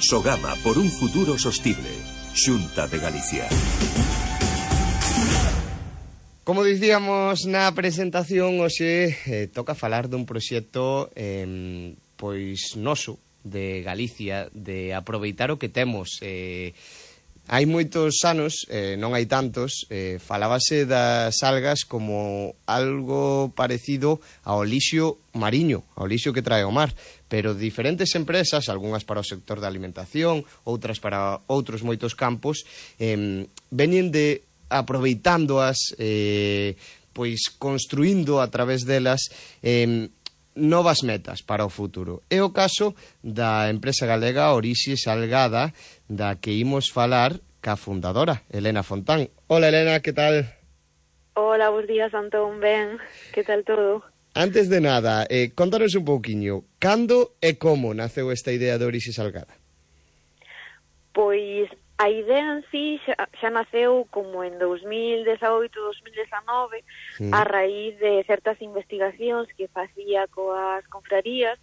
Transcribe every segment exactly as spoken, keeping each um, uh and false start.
Sogama por un futuro sostible. Xunta de Galicia. Como dicíamos na presentación, hoxe eh, toca falar dun proxecto eh, pois noso de Galicia, de aproveitar o que temos. Eh, hai moitos anos, eh, non hai tantos, eh, falábase das algas como algo parecido ao lixo mariño, ao lixo que trae o mar, pero diferentes empresas, algunhas para o sector da alimentación, outras para outros moitos campos, eh, veñen de aproveitándoas, eh, pois construindo a través delas eh, novas metas para o futuro. É o caso da empresa galega Orixe Salgada, da que imos falar ca fundadora, Elena Fontán. Hola, Elena, que tal? Hola, bons días, Antón, ben, que tal todo? Antes de nada, eh, contanos un pouquiño, cando e como naceu esta idea de Orixe Salgada? Pois a idea en sí xa, xa naceu como en dos mil dezaoito, dos mil dezanove, sí. A raíz de certas investigacións que facía coas confrarías.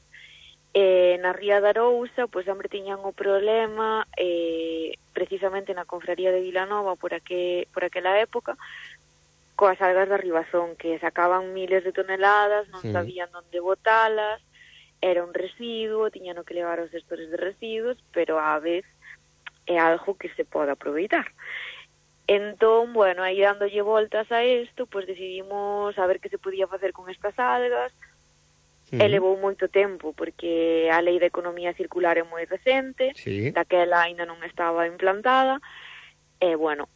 Eh, na Ría de Arousa, pois sempre tiñan o problema, eh, precisamente na confraría de Vilanova, por, aquel, por aquela época, coas algas da Ribazón, que sacaban miles de toneladas, non sí. sabían onde botalas, era un residuo, tiñan que levar os gestores de residuos, pero á vez é algo que se pode aproveitar. Entón, bueno, aí dándolle voltas a isto, pois decidimos a ver que se podía facer con estas algas. Uh-huh. E levou moito tempo, porque a lei de economía circular é moi recente, sí. daquela aínda non estaba implantada, e, bueno,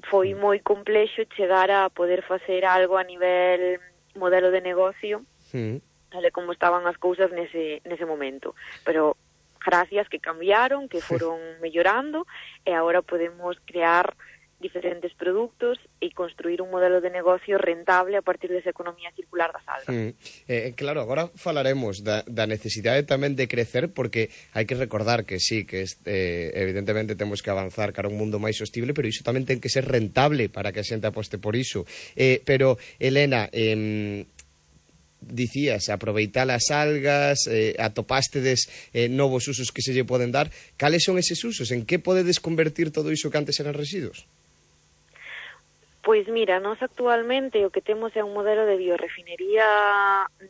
foi moi complexo chegar a poder facer algo a nivel modelo de negocio, uh-huh. tal como estaban as cousas nese, nese momento. Pero gracias que cambiaron, que foron mellorando, e agora podemos crear diferentes produtos e construir un modelo de negocio rentable a partir desa economía circular das algas. Mm. Eh, claro, agora falaremos da, da necesidade tamén de crecer, porque hai que recordar que sí, que este, evidentemente temos que avanzar cara a un mundo máis sostible, pero iso tamén ten que ser rentable para que a xente aposte por iso. Eh, pero, Elena, eh, dicías, aproveitar as algas, eh, atopástedes eh, novos usos que se lle poden dar. Cales son eses usos? En que podedes convertir todo iso que antes eran residuos? Pois mira, nós actualmente o que temos é un modelo de biorefinería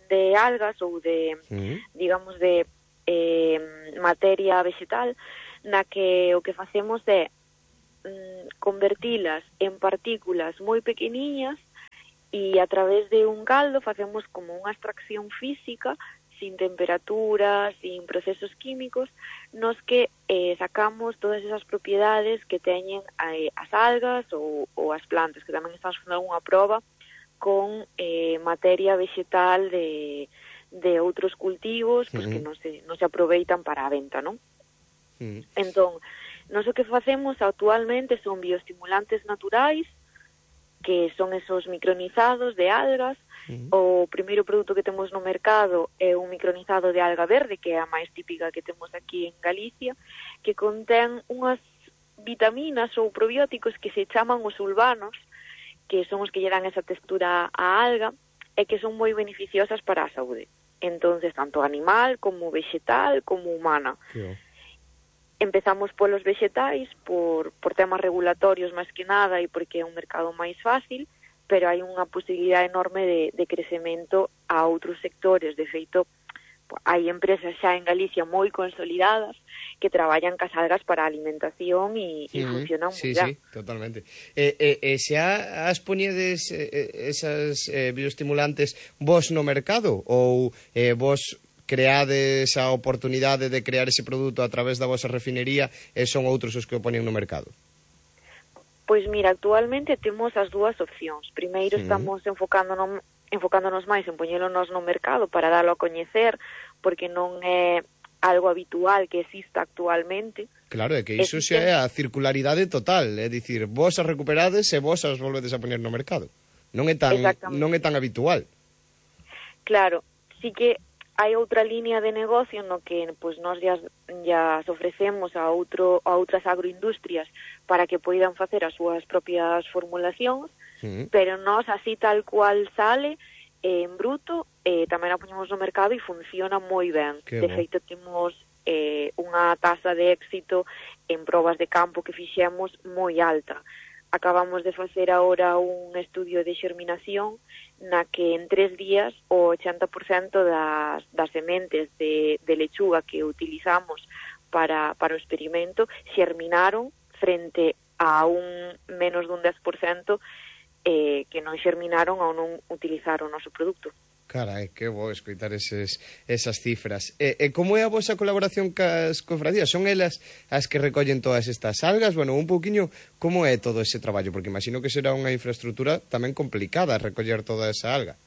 de algas ou de, uh-huh. digamos, de eh, materia vegetal, na que o que facemos é mm, convertilas en partículas moi pequeniñas e a través de un caldo facemos como unha extracción física sin temperatura, sin procesos químicos, nos que eh, sacamos todas esas propiedades que teñen eh, as algas ou, ou as plantas, que tamén estamos facendo unha proba con eh, materia vegetal de, de outros cultivos, pues, uh-huh. que non se, non se aproveitan para a venta, non? Uh-huh. Entón, nós o que facemos actualmente son bioestimulantes naturais, que son esos micronizados de algas. Uh-huh. O primeiro produto que temos no mercado é un micronizado de alga verde, que é a máis típica que temos aquí en Galicia, que contén unhas vitaminas ou probióticos que se chaman os sulvanos, que son os que lle dan esa textura á alga, e que son moi beneficiosas para a saúde. Entonces, tanto animal, como vegetal, como humana. Yeah. Empezamos polos vegetais, por, por temas regulatorios máis que nada, e porque é un mercado máis fácil, pero hai unha posibilidade enorme de, de crecemento a outros sectores. De feito, hai empresas xa en Galicia moi consolidadas que traballan cas algas para a alimentación e, e uh-huh. funcionan sí, moi ben. Sí, totalmente. Eh, eh, eh, xa as poñedes eh, esas eh, bioestimulantes vos no mercado ou eh, vos creades a oportunidade de crear ese produto a través da vosa refinería e son outros os que o poñen no mercado? Pois mira, actualmente temos as dúas opcións. Primeiro, sí. estamos enfocándonos, enfocándonos máis en poñélonos no mercado para darlo a coñecer, porque non é algo habitual que exista actualmente. Claro, é que iso xa é a circularidade total, é dicir, vos as recuperades e vos as volvedes a poñer no mercado. Non é tan, non é tan habitual. Claro, sí que hai outra línea de negocio no que pues, nós ya, ya ofrecemos a, outro, a outras agroindustrias para que poidan facer as súas propias formulacións, sí. pero nós así tal cual sale eh, en bruto, eh, tamén a poñemos no mercado e funciona moi ben. Que de feito, temos eh, un unha tasa de éxito en probas de campo que fixemos moi alta. Acabamos de facer agora un estudio de xerminación na que en tres días o ochenta por cento das, das sementes de, de lechuga que utilizamos para, para o experimento xerminaron frente a un menos dun dez por cento eh, que non xerminaron ou non utilizaron o noso produto. Carai, que bo escoitar eses, esas cifras. E, e como é a vosa colaboración cas cofradías? Son elas as que recollen todas estas algas? Bueno, un pouquiño, como é todo ese traballo? Porque imagino que será unha infraestructura tamén complicada recoller toda esa alga.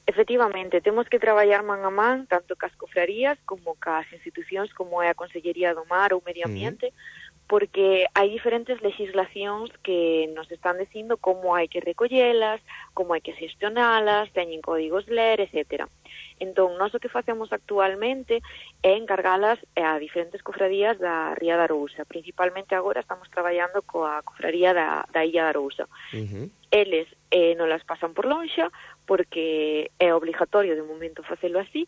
Efectivamente, temos que traballar man a man, tanto cas cofrarías como cas institucións como é a Consellería do Mar ou Medio Ambiente, uh-huh. porque hai diferentes legislacións que nos están dicindo como hai que recollelas, como hai que gestionalas, teñen códigos L E R, etcétera. Entón, nós o que facemos actualmente é encargalas a diferentes cofradías da Ría da Arousa. Principalmente agora estamos traballando coa cofradía da, da Illa da Arousa. Uh-huh. Eles eh, non las pasan por lonxa porque é obligatorio de momento facelo así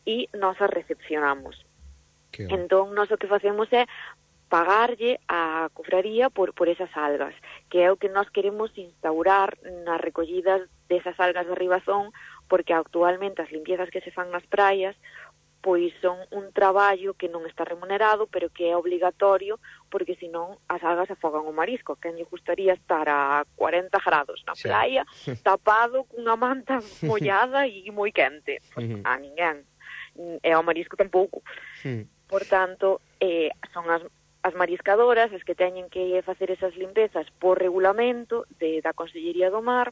e nós as recepcionamos. Entón, nós o que facemos é pagarlle a cofraría por, por esas algas, que é o que nós queremos instaurar nas recollidas desas algas de Ribazón, porque actualmente as limpiezas que se fan nas praias pois son un traballo que non está remunerado, pero que é obligatorio, porque senón as algas afogan o marisco. Quen lle gustaría estar a cuarenta grados na playa, sí. tapado cunha manta mollada e moi quente? Pues, uh-huh. A ninguén. E ao marisco tampouco. Uh-huh. Por tanto, eh, son as as mariscadoras as que teñen que facer esas limpezas por regulamento de, da Consellería do Mar,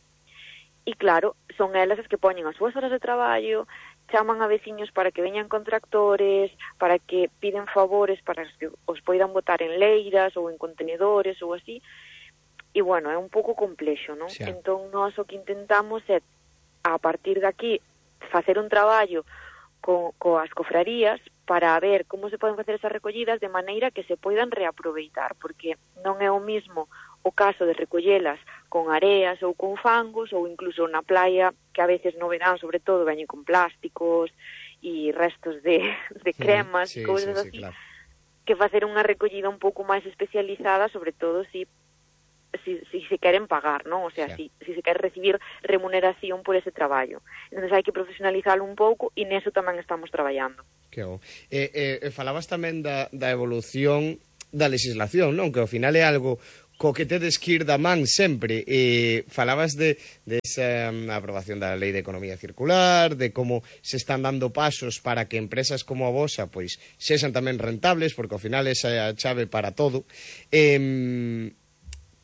e claro, son elas as que poñen as súas horas de traballo, chaman a veciños para que veñan con tractores, para que piden favores para que os poidan botar en leiras ou en contenedores ou así, e bueno, é un pouco complexo, non? Sí. Entón, nós o que intentamos é, a partir de aquí, facer un traballo co, coas cofrarías para ver como se poden facer esas recollidas de maneira que se poidan reaproveitar, porque non é o mismo o caso de recollelas con areas ou con fangos, ou incluso na playa, que a veces no verán, sobre todo, veñen con plásticos e restos de, de cremas, sí, cousas sí, sí, así, claro. Que facer unha recollida un pouco máis especializada, sobre todo si si, si se queren pagar, non? O sea, sí. si, si se quere recibir remuneración por ese traballo. Entón, hai que profesionalizalo un pouco e neso tamén estamos traballando. Que o. E, e, falabas tamén da, da evolución da legislación, non? Que ao final é algo co que tedes que ir da man sempre. E falabas de, de esa um, aprobación da Lei de Economía Circular, de como se están dando pasos para que empresas como a vosa pois sexan tamén rentables, porque ao final esa é a chave para todo. Eh,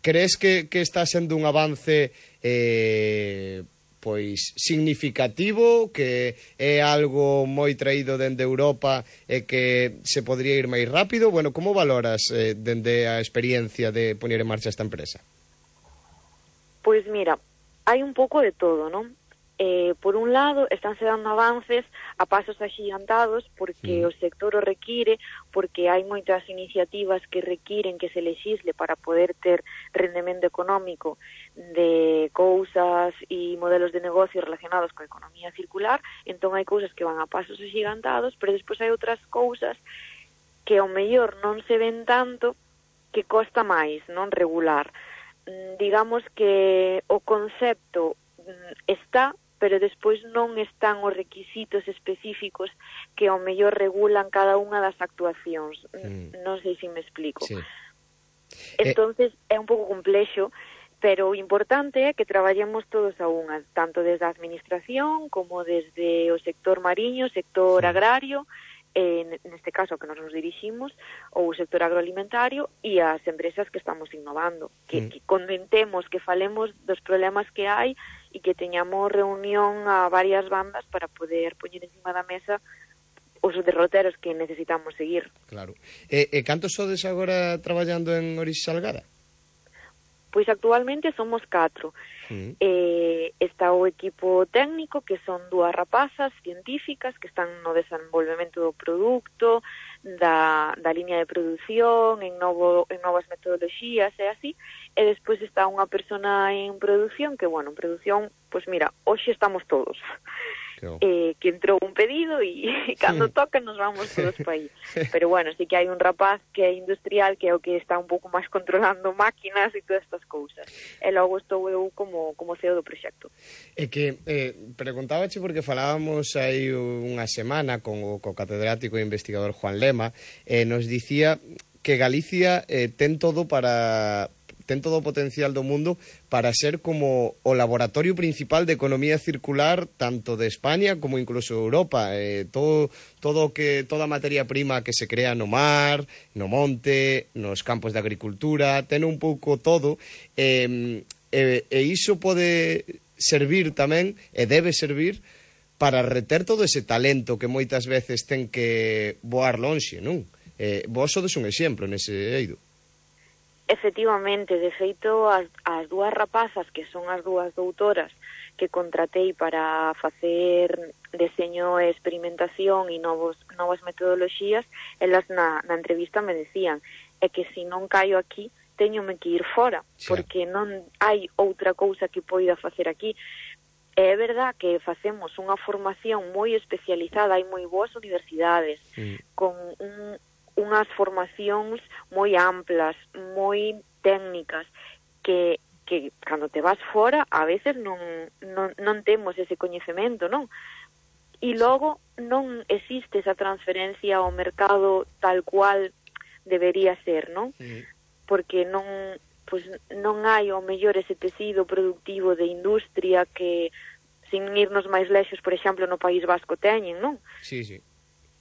crees que, que está sendo un avance eh, pois significativo, que é algo moi traído dende Europa e que se podría ir máis rápido? Bueno, como valoras eh, dende a experiencia de poñer en marcha esta empresa? Pois mira, hai un pouco de todo, non? Eh, por un lado, estánse dando avances a pasos axigantados porque mm. o sector o require, porque hai moitas iniciativas que requiren que se legisle para poder ter rendemento económico de cousas e modelos de negocio relacionados coa economía circular. Entón hai cousas que van a pasos axigantados, pero despois hai outras cousas que ao mellor non se ven tanto, que costa máis non regular. Mm, digamos que o concepto mm, está, pero despois non están os requisitos específicos que ao mellor regulan cada unha das actuacións. Mm. Non sei se me explico. Sí. Entonces, eh... é un pouco complexo, pero o importante é que traballemos todos a unha, tanto desde a administración como desde o sector mariño, sector sí. agrario, en neste caso que nos nos diriximos, ou o sector agroalimentario e as empresas que estamos innovando, que, mm. que comentemos, que falemos dos problemas que hai e que teñamos reunión a varias bandas para poder poñer encima da mesa os derroteros que necesitamos seguir. Claro. E, e cantos sodes agora traballando en Orixe Salgada? Pois actualmente somos catro. Mm. Eh, está o equipo técnico, que son dúas rapazas científicas que están no desenvolvemento do produto, da, da liña de produción, en, novo, en novas metodoloxías e así, e despois está unha persona en produción, que, bueno, en produción, pois mira, hoxe estamos todos. eh, que entrou un pedido e cando toca nos vamos todos para aí. Pero bueno, sí que hai un rapaz que é industrial que é o que está un pouco máis controlando máquinas e todas estas cousas. E logo estou eu como, como C E O do proxecto. É que eh, preguntábache porque falábamos aí unha semana con o co catedrático e investigador Juan Lema, e eh, nos dicía que Galicia eh, ten todo para... ten todo o potencial do mundo para ser como o laboratorio principal de economía circular tanto de España como incluso de Europa. Eh, todo, todo que, toda a materia prima que se crea no mar, no monte, nos campos de agricultura, ten un pouco todo, eh, e, e iso pode servir tamén, e debe servir, para reter todo ese talento que moitas veces ten que voar lonxe, non? Eh, vos sodes un exemplo nese eido. Efectivamente, de feito, as, as dúas rapazas, que son as dúas doutoras que contratei para facer deseño e experimentación e novos, novas metodoloxías, elas na, na entrevista me decían é que se non caio aquí, teñome que ir fora, sí, porque non hai outra cousa que poida facer aquí. É verdad que facemos unha formación moi especializada, hai moi boas universidades, sí, con un unhas formacións moi amplas, moi técnicas, que, que cando te vas fora, a veces non, non, non temos ese coñecemento, non? E logo non existe esa transferencia ao mercado tal cual debería ser, non? Sí. Porque non, pues, non hai ao mellor ese tecido productivo de industria que, sin irnos máis lexos, por exemplo, no País Vasco teñen, non? Sí, sí.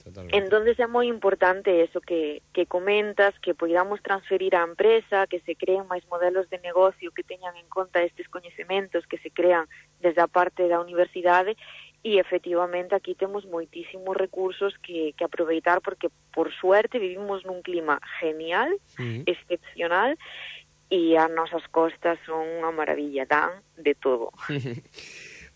Totalmente. Entonces é moi importante eso que, que comentas, que podamos transferir á empresa, que se creen máis modelos de negocio que teñan en conta estes coñecementos que se crean desde a parte da universidade, e efectivamente aquí temos moitísimos recursos que, que aproveitar, porque por suerte vivimos nun clima genial, sí, excepcional, e as nosas costas son unha maravilla, dan de todo.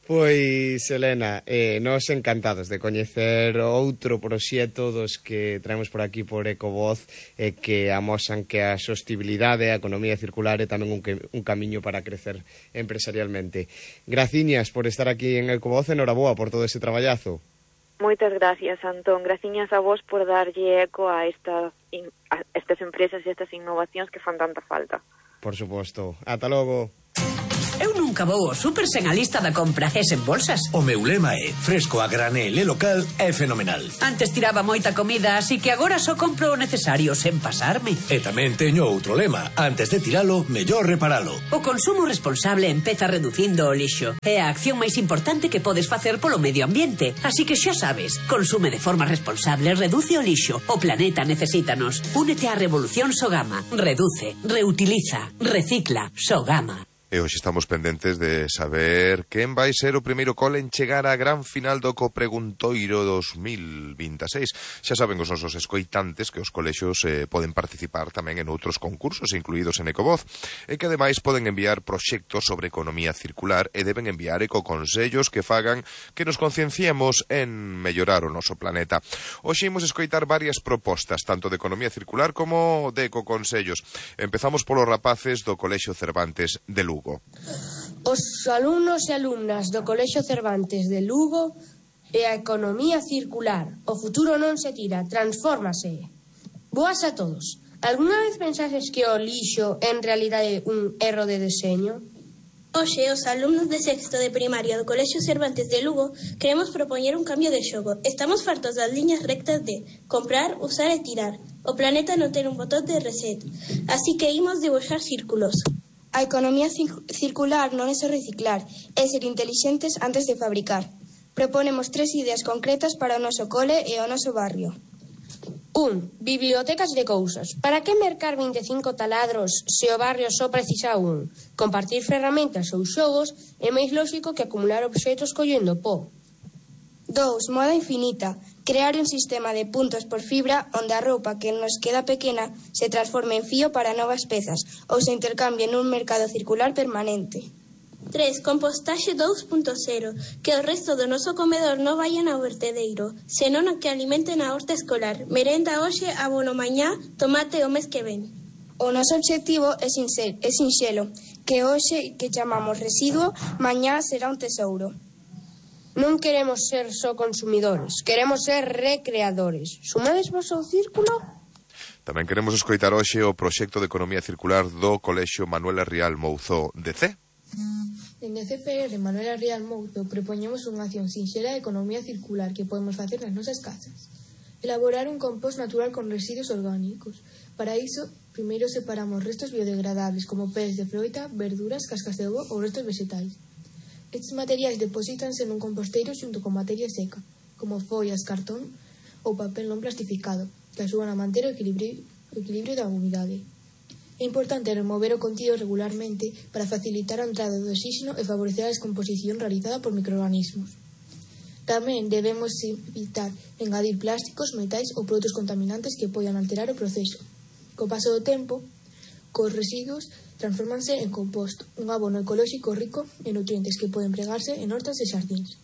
Pois, Elena, eh, nos encantados de coñecer outro proxecto dos que traemos por aquí por Ecovoz, eh, que amosan que a sostibilidade, a economía circular é tamén un, que, un camiño para crecer empresarialmente. Graciñas por estar aquí en Ecovoz, enhoraboa por todo ese traballazo. Moitas gracias, Antón. Graciñas a vos por darlle eco a estas, a estas empresas e estas innovacións que fan tanta falta. Por suposto. Ata logo. Eu nunca vou ao super sen a lista da compra e sen bolsas. O meu lema é fresco a granel e local é fenomenal. Antes tiraba moita comida, así que agora só compro o necesario sen pasarme. E tamén teño outro lema: antes de tiralo, mellor reparalo. O consumo responsable empeza reducindo o lixo. É a acción máis importante que podes facer polo medio ambiente. Así que xa sabes, consume de forma responsable, reduce o lixo. O planeta necesítanos. Únete á revolución Sogama. Reduce, reutiliza, recicla. Sogama. E hoxe estamos pendentes de saber quen vai ser o primeiro cole en chegar á gran final do Copreguntoiro dos mil vinte e seis. Xa saben os nosos escoitantes que os colexios eh, poden participar tamén en outros concursos incluídos en Ecovoz, e que ademais poden enviar proxectos sobre economía circular e deben enviar ecoconsellos que fagan que nos concienciemos en mellorar o noso planeta. Hoxe imos escoitar varias propostas, tanto de economía circular como de ecoconsellos. Empezamos polos rapaces do Colexio Cervantes de Lugo. Os alumnos e alumnas do Colexio Cervantes de Lugo e a economía circular. O futuro non se tira, transfórmase. Boas a todos. Alguna vez pensases que o lixo en realidade é un erro de deseño? Hoxe, os alumnos de sexto de primaria do Colexio Cervantes de Lugo queremos propoñer un cambio de xogo. Estamos fartos das liñas rectas de comprar, usar e tirar. O planeta non ten un botón de reset, así que imos dibuixar círculos. A economía circular non é só reciclar, é ser intelixentes antes de fabricar. Proponemos tres ideas concretas para o noso cole e o noso barrio. un. Bibliotecas de cousas. Para que mercar vinte e cinco taladros se o barrio só precisa un? Compartir ferramentas ou xogos é máis lóxico que acumular obxetos collendo pó. dous. Moda infinita. Crear un sistema de puntos por fibra onde a roupa que nos queda pequena se transforme en fío para novas pezas ou se intercambie nun mercado circular permanente. tres. Compostaxe dous punto cero. Que o resto do noso comedor non vayan ao vertedeiro, senón a que alimenten a horta escolar. Merenda hoxe, abono mañá, tomate o mes que ven. O noso obxectivo é, sincer, é sinxelo, que hoxe que chamamos residuo, mañá será un tesouro. Non queremos ser só consumidores, queremos ser recreadores. Sumades vos ao círculo? Tamén queremos escoitar hoxe o proxecto de economía circular do Colexio Manuela Rial Mouzó de C. Dende C P R Manuela Rial Mouzó propoñemos unha acción sinxela de economía circular que podemos facer nas nosas casas. Elaborar un compost natural con residuos orgánicos. Para iso, primeiro separamos restos biodegradables como peles de froita, verduras, cascas de ovo ou restos vegetais. Estes materiais deposítanse nun composteiro xunto con materia seca, como follas, cartón ou papel non plastificado, que axudan a manter o equilibrio, o equilibrio da humidade. É importante remover o contido regularmente para facilitar a entrada do oxígeno e favorecer a descomposición realizada por microorganismos. Tamén debemos evitar engadir plásticos, metais ou produtos contaminantes que poidan alterar o proceso. Co paso do tempo, cos residuos transformanse en composto, un abono ecolóxico rico en nutrientes que poden empregarse en hortas e xardíns.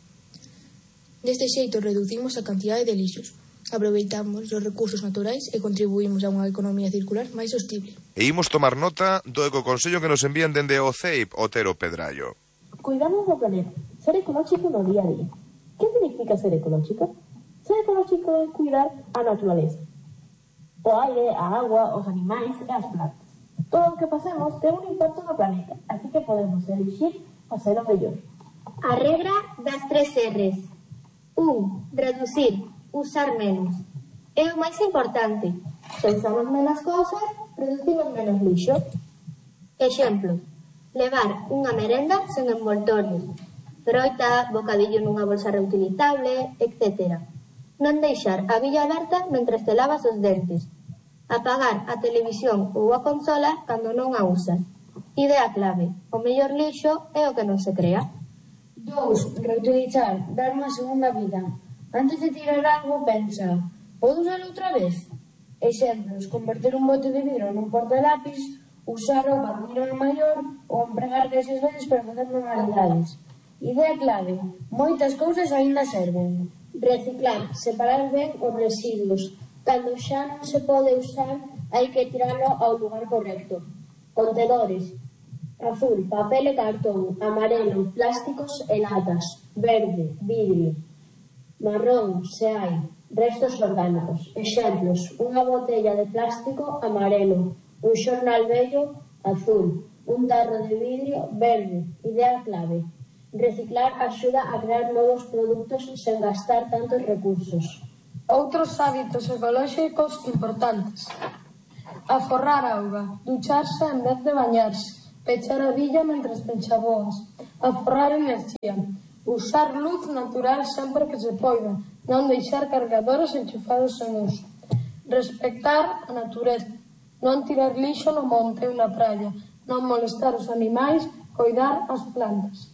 Deste xeito reducimos a cantidade de lixos, aproveitamos os recursos naturais e contribuímos a unha economía circular máis sostible. E imos tomar nota do ecoconsello que nos envían dende o C E I P Otero Pedrallo. Cuidamos do planeta, ser ecolóxico no día a día. Que significa ser ecolóxico? Ser ecolóxico é cuidar a naturaleza, o aire, a agua, os animais e as plantas. Todo o que facemos ten un impacto no planeta, así que podemos elegir facer o mellor. A regra das tres R's. Un, reducir, usar menos. É o máis importante. Se usamos menos cousas, producimos menos lixo. Exemplo, levar unha merenda sen envoltorio, froita, bocadillo nunha bolsa reutilizable, etcétera. Non deixar a billa aberta mentre te lavas os dentes. Apagar a televisión ou a consola cando non a usas. Idea clave, o mellor lixo é o que non se crea. Dous, reutilizar, dar unha segunda vida. Antes de tirar algo, pensa, podo usar outra vez? Exemplos, converter un bote de vidro nun portalápis, usar o barniro maior ou empregar deses veces para facer manualidades. Idea clave, moitas cousas aínda serven. Reciclar, separar ben os residuos. Cando xa non se pode usar, hai que tiralo ao lugar correcto. Contenedores. Azul, papel e cartón. Amarelo, plásticos e latas. Verde, vidrio. Marrón, se hai. Restos orgánicos. Exemplos, unha botella de plástico, amarelo. Un xornal vello, azul. Un tarro de vidrio, verde. Idea clave. Reciclar axuda a crear novos produtos sen gastar tantos recursos. Outros hábitos ecolóxicos importantes. Aforrar auga, ducharse en vez de bañarse, pechar a billa mentre te enxaboas, aforrar enerxía, usar luz natural sempre que se poida, non deixar cargadores enchufados en uso, respectar a natureza, non tirar lixo no monte ou na praia, non molestar os animais, coidar as plantas.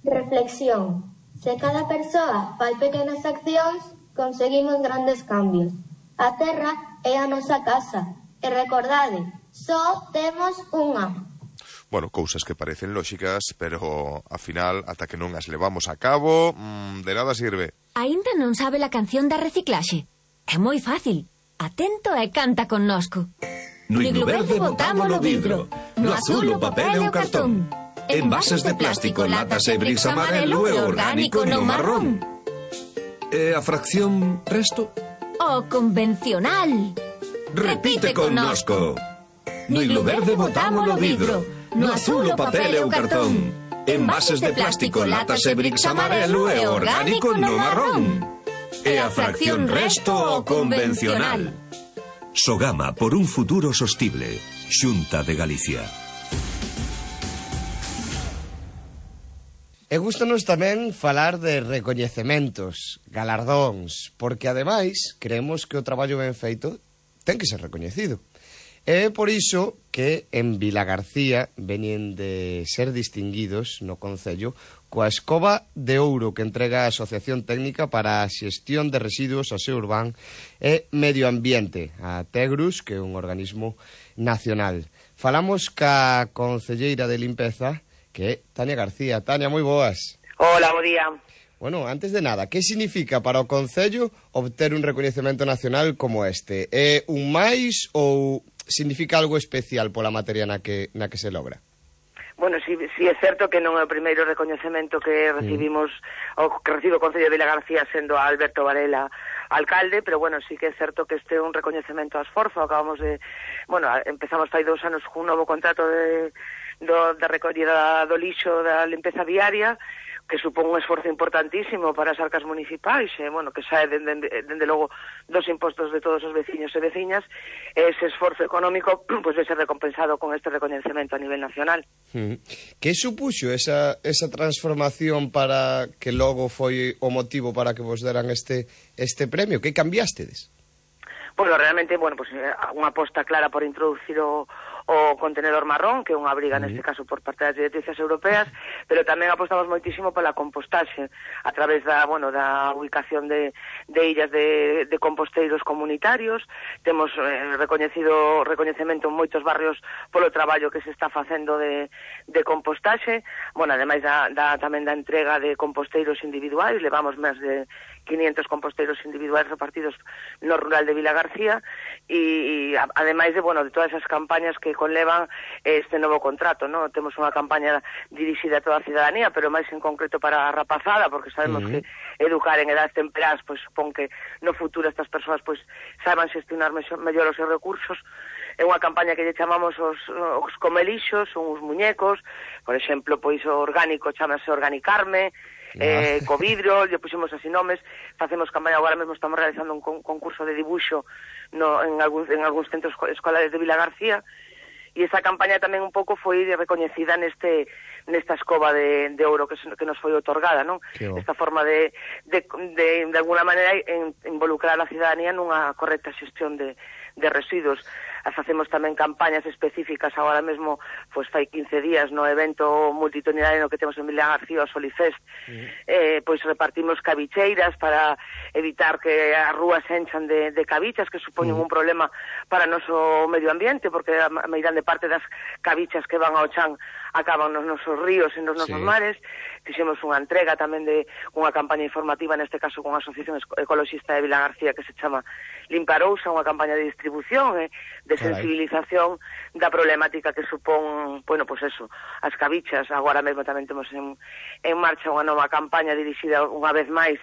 Reflexión. Se cada persoa fai pequenas accións, conseguimos grandes cambios. A terra é a nosa casa. E recordade, só temos unha. Bueno, cousas que parecen lóxicas, pero, a final, ata que non as levamos a cabo, mmm, de nada sirve. Aínda non sabe a canción da reciclaxe? É moi fácil. Atento e canta connosco. No iglo verde botamos o vidro, no azul o papel e o cartón. Envases de plástico, latas e bricks amarelo e orgánico no marrón. E a fracción resto? O convencional. Repite connosco. No iglo verde botamos o vidro, no azul o papel e o cartón. Envases de plástico, latas e bricks amarelo e orgánico no marrón. E a fracción resto o convencional. Sogama por un futuro sostible. Xunta de Galicia. E gustanos tamén falar de recoñecementos, galardóns, porque ademais creemos que o traballo ben feito ten que ser recoñecido. É por iso que en Vilagarcía veñen de ser distinguidos no Concello coa Escoba de Ouro que entrega a Asociación Técnica para a Xestión de Residuos, Aseo Urbán e Medio Ambiente, a Tegrus, que é un organismo nacional. Falamos ca concelleira de limpeza, que é Tania García. Tania, moi boas. Hola, bo día. Bueno, antes de nada, que significa para o Concello obter un recoñecemento nacional como este? É un máis ou significa algo especial pola materia na que, na que se logra? Bueno, si, si é certo que non é o primeiro recoñecemento que recibimos, mm. o que recibe o Concello de Vilagarcía sendo a Alberto Varela alcalde, pero bueno, sí que é certo que este é un recoñecemento a esforzo. Acabamos de, bueno, empezamos fai dous anos cun novo contrato de, do, de recollida do lixo da limpeza viaria, que supón un esforzo importantísimo para as arcas municipais, e, bueno, que sae dende, dende logo dos impostos de todos os veciños e veciñas, e ese esforzo económico pues, vai ser recompensado con este recoñecemento a nivel nacional. Mm. Que supuxo esa, esa transformación para que logo foi o motivo para que vos deran este, este premio? Que cambiastedes? Bueno, realmente, bueno, pues unha aposta clara por introducir o o contenedor marrón, que é unha obriga neste caso por parte das directrices europeas, pero tamén apostamos moitísimo pola compostaxe a través da, bueno, da ubicación de, de illas de, de composteiros comunitarios. Temos eh, recoñecido recoñecemento en moitos barrios polo traballo que se está facendo de, de compostaxe. Bueno, ademais da, da, tamén da entrega de composteiros individuais, levamos máis de quinientos composteiros individuais repartidos no rural de Vilagarcía, e, e ademais de, bueno, de todas esas campañas que conlevan este novo contrato, ¿no? Temos unha campaña dirixida a toda a cidadanía, pero máis en concreto para a rapazada, porque sabemos uh -huh. que educar en edades temperás pois supón que no futuro estas persoas pois saiban xestionar mellor os seus recursos. É unha campaña que lle chamamos os, os comelixos, son uns muñecos, por exemplo, pois o orgánico chamase Organicarme, eh, co vidro, lle puxemos así nomes, facemos campaña, agora mesmo estamos realizando un con, concurso de dibuixo no, en, algúns, en algúns centros escolares de Vilagarcía, e esa campaña tamén un pouco foi recoñecida neste nesta escoba de, de ouro que, que nos foi otorgada, non? Esta forma de, de, de, de alguna maneira en, involucrar a cidadanía nunha correcta xestión de, de residuos. Facemos tamén campañas específicas agora mesmo, pois fai quince días no evento multitudinario que temos en Vilagarcía, o Solifest, mm. eh, pois repartimos cabicheiras para evitar que as rúas se enchan de, de cabichas, que supoñen mm. un problema para o noso medio ambiente, porque a meirande parte das cabichas que van ao chan acaban nos nosos ríos e nos nosos sí. mares. Fixemos unha entrega tamén de unha campaña informativa, neste caso con a Asociación Ecologista de Vilagarcía, que se chama Limparousa, unha campaña de distribución e eh, de sensibilización da problemática que supón, bueno, pois pues eso, as cabichas. Agora mesmo tamén temos en, en marcha unha nova campaña dirixida unha vez máis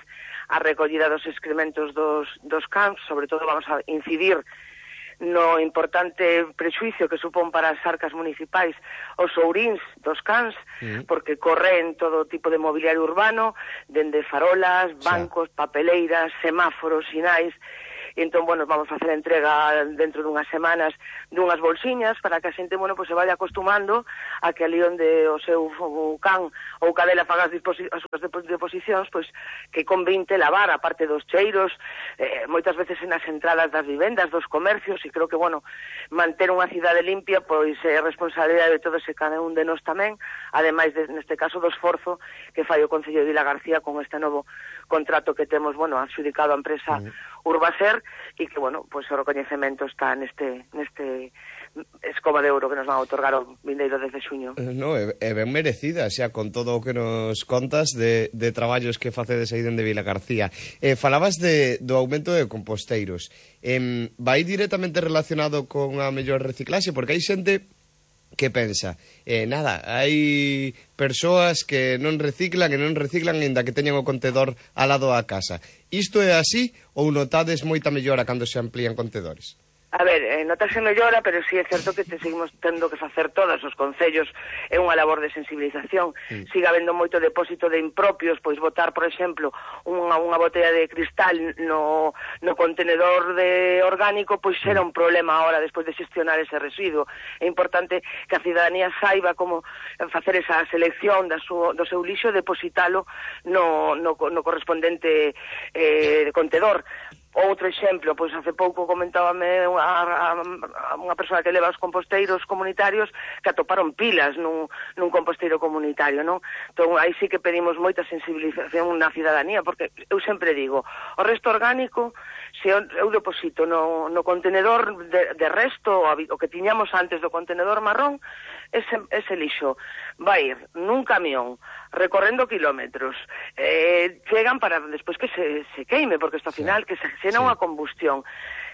á recollida dos excrementos dos, dos cans. Sobre todo vamos a incidir no importante prexuicio que supón para as arcas municipais os ouríns dos cans, mm. porque corren todo tipo de mobiliario urbano, dende farolas, bancos, sí. papeleiras, semáforos, sinais. E entón, bueno, vamos a facer a entrega dentro dunhas semanas dunhas bolsiñas para que a xente, bueno, pues se vaya acostumando a que ali onde o seu o can ou cadela faga as, disposi as súas deposicións, pois que convinte lavar, a parte dos cheiros, eh, moitas veces nas entradas das vivendas, dos comercios, e creo que, bueno, manter unha cidade limpia, pois é eh, responsabilidade de todo ese cada un de nós tamén, ademais, de, neste caso, do esforzo que fai o Concello de Vilagarcía con este novo contrato que temos, bueno, adxudicado a empresa mm. Urbaser, e que, bueno, pois o recoñecemento está neste neste escoba de ouro que nos van a otorgar o vindeiro desde xuño. No, é, é ben merecida, xa, con todo o que nos contas de, de traballos que facedes aí dende Vilagarcía. Eh, falabas de, do aumento de composteiros. Eh, vai directamente relacionado con a mellor reciclaxe, porque hai xente que pensa, eh, nada, hai persoas que non reciclan e non reciclan ainda que teñan o contedor al lado da casa. Isto é así ou notades moita mellora cando se amplían contedores? A ver, eh, notase mellora, pero sí é certo que te seguimos tendo que facer todos os concellos, é unha labor de sensibilización. Mm. Siga habendo moito depósito de impropios, pois botar, por exemplo, unha, unha botella de cristal no, no contenedor de orgánico, pois será un problema ahora despois de xestionar ese residuo. É importante que a cidadanía saiba como facer esa selección da su, do seu lixo e depositalo no, no, no correspondente eh, contenedor. Outro exemplo, pois hace pouco comentábame a, a, a unha persoa que leva os composteiros comunitarios que atoparon pilas nun, nun composteiro comunitario, non? Entón, aí sí que pedimos moita sensibilización na cidadanía, porque eu sempre digo, o resto orgánico, se eu, eu deposito no, no contenedor de, de resto, o que tiñamos antes do contenedor marrón, ese, ese lixo vai ir nun camión, recorrendo kilómetros, eh, chegan para despois que se, se queime, porque isto ao final que se senón a combustión.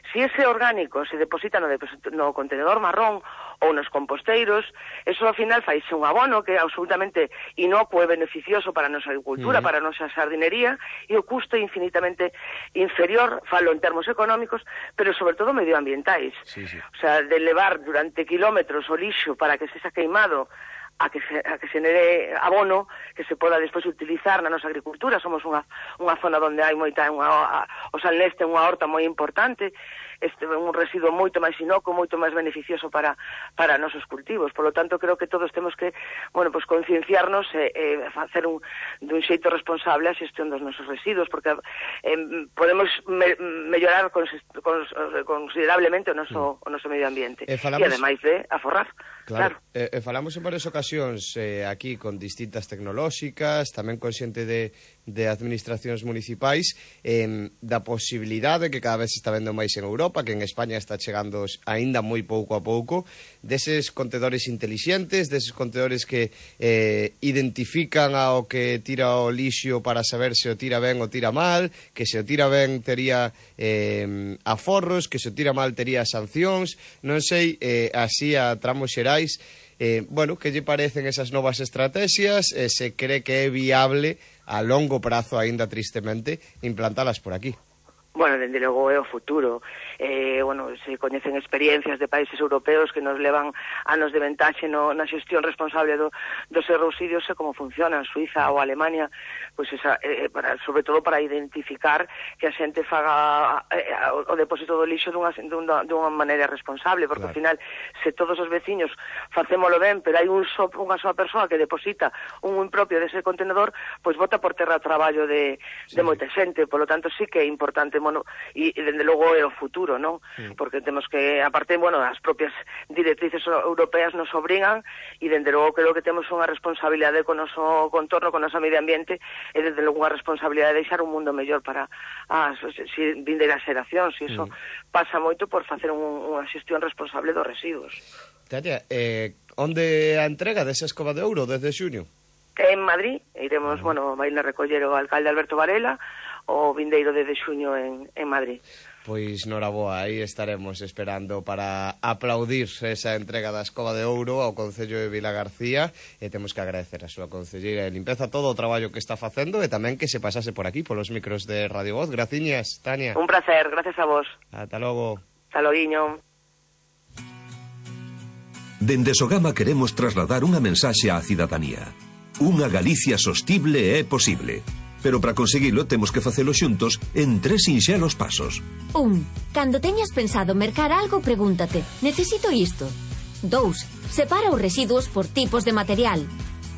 Si ese orgánico se deposita no, no contenedor marrón ou nos composteiros, eso ao final faise un abono que é absolutamente inocuo e beneficioso para a nosa agricultura, uh -huh. para a nosa sardinería, e o custo é infinitamente inferior, falo en termos económicos, pero sobre todo medioambientais. Sí, sí. O sea, de levar durante kilómetros o lixo para que se xa queimado a que se, a que se nere abono que se poda despois utilizar na nosa agricultura. Somos unha, unha zona onde hai moita, unha, a, o Salneste é unha horta moi importante, este é un residuo moito máis inocuo, moito máis beneficioso para para nosos cultivos. Por lo tanto, creo que todos temos que, bueno, pues concienciarnos e eh, eh, facer un dun xeito responsable a xestión dos nosos residuos, porque eh, podemos me, mellorar cons, cons, considerablemente o noso, mm. o noso medio ambiente. E, falamos... e ademais de aforrar. Claro, claro. E, e falamos en varias ocasións eh, aquí con distintas tecnolóxicas, tamén con xente de, de administracións municipais, eh, da posibilidade que cada vez se está vendo máis en Europa, que en España está chegando aínda moi pouco a pouco, deses contedores intelixentes, deses contedores que eh, identifican ao que tira o lixo para saber se o tira ben ou tira mal, que se o tira ben tería eh, aforros, que se o tira mal tería sancións, non sei, eh, así a tramos xerais. Eh, bueno, que lle parecen esas novas estrategias, eh, se cree que é viable a longo prazo, aínda tristemente, implantalas por aquí? Bueno, dende logo é o futuro. Eh, bueno, se coñecen experiencias de países europeos que nos levan anos de ventaxe no, na xestión responsable do, dos residuos e como funcionan Suiza ou Alemania, pois esa, eh, para, sobre todo para identificar que a xente faga eh, o depósito do lixo dunha, dunha, dunha maneira responsable, porque claro. Ao final, se todos os veciños facémolo ben, pero hai un so, unha soa persoa que deposita un impropio dese contenedor, pois bota por terra o traballo de, sí. de moita xente. Por lo tanto, sí que é importante, bueno, e, e dende logo é o futuro, non? Sí. Porque temos que, aparte, bueno, as propias directrices europeas nos obrigan, e dende logo creo que temos unha responsabilidade con o noso contorno, con o noso medio ambiente, e dende logo unha responsabilidade de deixar un mundo mellor para as si, vindeiras xeracións, e iso mm. pasa moito por facer un, unha xestión responsable dos residuos. Tatia, eh, onde a entrega desa escova de ouro desde xuño? En Madrid, iremos, mm. bueno, vai a recoller o alcalde Alberto Varela, o vindeiro de xuño en, en Madrid. Pois noraboa, aí estaremos esperando para aplaudir esa entrega da escova de ouro ao Concello de Vilagarcía, e temos que agradecer a súa concelleira de limpeza todo o traballo que está facendo, e tamén que se pasase por aquí, polos micros de Radio Voz. Graciñas, Tania. Un placer, gracias a vos. Ata logo. Ata loguiño. Dende Sogama queremos trasladar unha mensaxe á cidadanía. Unha Galicia sostible é posible. Pero para conseguilo temos que facelo xuntos en tres sinxelos pasos. Un. Cando teñas pensado mercar algo, pregúntate: necesito isto? Dous. Separa os residuos por tipos de material.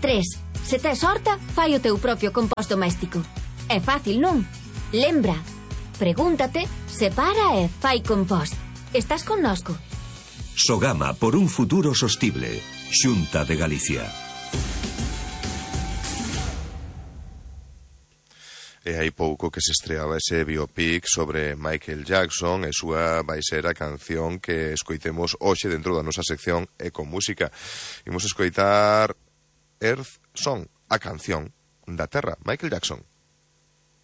Tres. Se tes horta, fai o teu propio compost doméstico. É fácil, non? Lembra. Pregúntate, separa e fai compost. Estás connosco. Sogama por un futuro sostible. Xunta de Galicia. E hai pouco que se estreaba ese biopic sobre Michael Jackson e súa vai ser a canción que escoitemos hoxe dentro da nosa sección Ecomúsica. Imos escoitar Earth Song, a canción da Terra, Michael Jackson.